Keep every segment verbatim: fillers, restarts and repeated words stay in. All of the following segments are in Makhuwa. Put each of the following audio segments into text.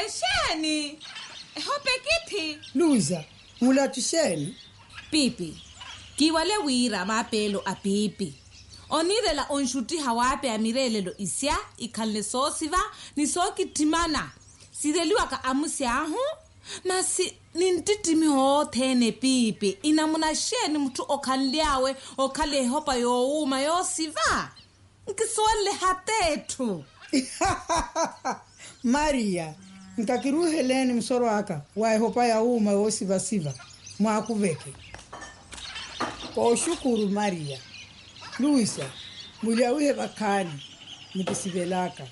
Exeeni? Ehopa ekithi. Luisa, mulachu exeeni? Piipi, kiiwale wira maapeelo a piipi oniirela onxuttiha waapeya mireelelo isya ikhanle soosiva ni sookittimana sireliwaka amusi ahu. Masi ninttittimiho othene piipi inamuna xeeni mutthu okhanly'awe okhala ehopa yoowuuma yoosiva? Nkisuwenle hata etthu. Mariya, nkakiruuheleeni musoro aka wa ehopa ya wuuma woosivasiva. Mwaakuveke. Kooxukuru mariya. Luisa, mulyawihe vakhaani. Mukisivelaka.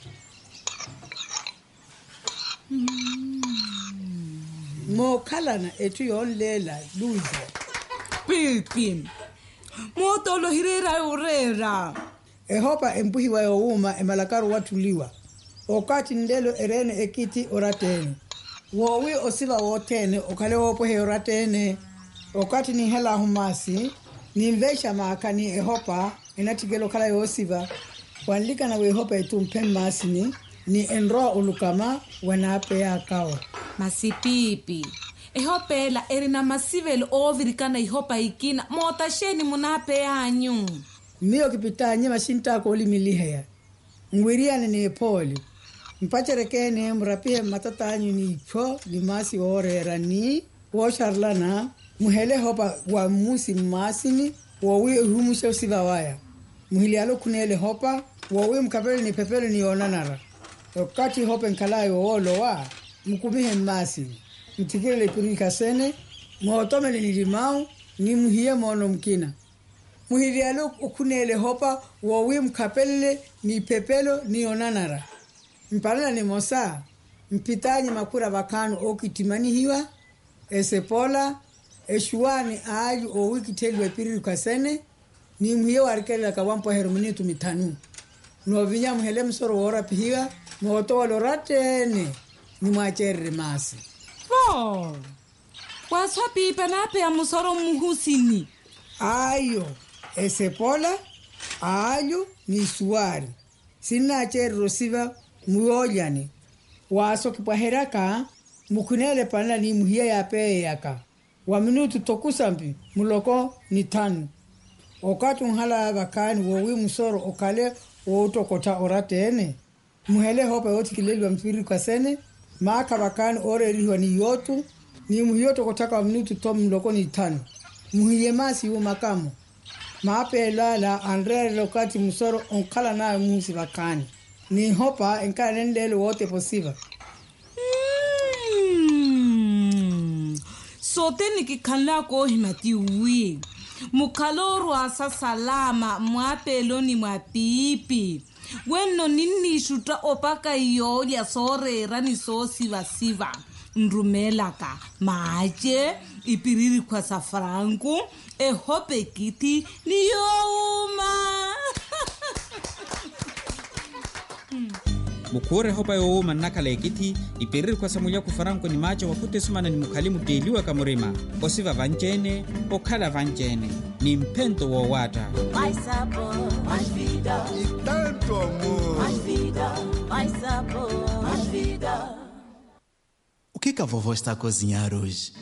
Mookhalana etthu yoonleela luisa. Piipi, mootoolo ohireera yoreera. Ehopa empuhiwa yoowuuma emalakaru owatthuliwa. Okathi nlelo ereene ekithi oratta-ene woowi osiva wothene okhale woopweheya oratta-ene. Okathi ninhel'ahu maasi, ninveixa maakha ni ehopa enatthikela okhala yoosiva. Wanlikana w'ehopa etumphe mmaasini ni enrowa olukama wanaapeyakawo. Masi piipi, ehopa ela erina masivelo oovirikana ihopa ikina mootaxeeni munaapey'anyu? Miyo kipit'anyu maxintt'aka oolimiliheya. Nwiriyane n'ephooli, mpacereke-ene murapihe mmatat'anyu n'iphyo ni maasi wooreera ni wooxarelana. Muhele ehopa wa mmusi mmaasini woowi ehumuxe osiva waya. Muhilyale okhuneela ehopa woowi mukhapele ni ephepelo ni yoonanara. Okathi ehopa enkhal'aya owoolowa, mukumihe mmaasini, mutthikilele ipirikha sene, mootomele nilimawu ni muhiye moono mukina. Muhilyale okhuneela ehopa woowi mukhapelele ni iphepelo ni onanara. Mpanela nimosa, mphit'anyu makhura vakhaani ookittimanihiwa, esepola, exuwaani aalyu oowikittheliwa epiririkhu asene, ni muhiye waarikelelaka wampweheru minutu mithanu. Noovinya muhele musoro woorapihiwa, mootowela oratta-ene, ni mwaaceererye maasi. Vo, waaswa piipi anaapeya musoro mmuhusini. Ayo, esepola, aalyu ni isuwaari sinnaaceererya osiva. Muyoolyani waaso kipwaheryaka, mukhuneele panela ni muhiya yaapeeyeyaka wa minutu tokusampi muloko ni thanu. Okathi onhalaya vakhaani woowi musoro okhale woottokottha oratta-ene, muhele ehoopa yoothikileliwa mpiririkhu asene, maakha vakhaani ooreerihiwa ni yootu, ni muhiya ottokotthaka wa minutu tho muloko ni thanu. Muhiye maasi yuumaka-mo. Maapeelo ala anreerela okathi musoro onkhalan'awe muhusi vakhaani, n'ihopa enkhala nenleelo wootepa osiva. Sothene kikhanlaka oohimya ti wi mukhale oorwaasa salama mmwaapeeloni mwa piipi. Wenno ninniixutta opaka iyoolya sooreera ni soosivasiva. Nrumeelaka maace, ipiririkhwa sa franku, ehopa ekithi ni yoowuuma. Mukhuura ehopa yoowuuma nnakhala ekithi, ipiririkhwa sa mulyakhu franku ni maace wakhuttesumana ni mukhali mutteeliwaka murima, osiva vanci-ene, okhala vanci-ene ni mphento woowaatta. Okhika vovo estakozinyaruji.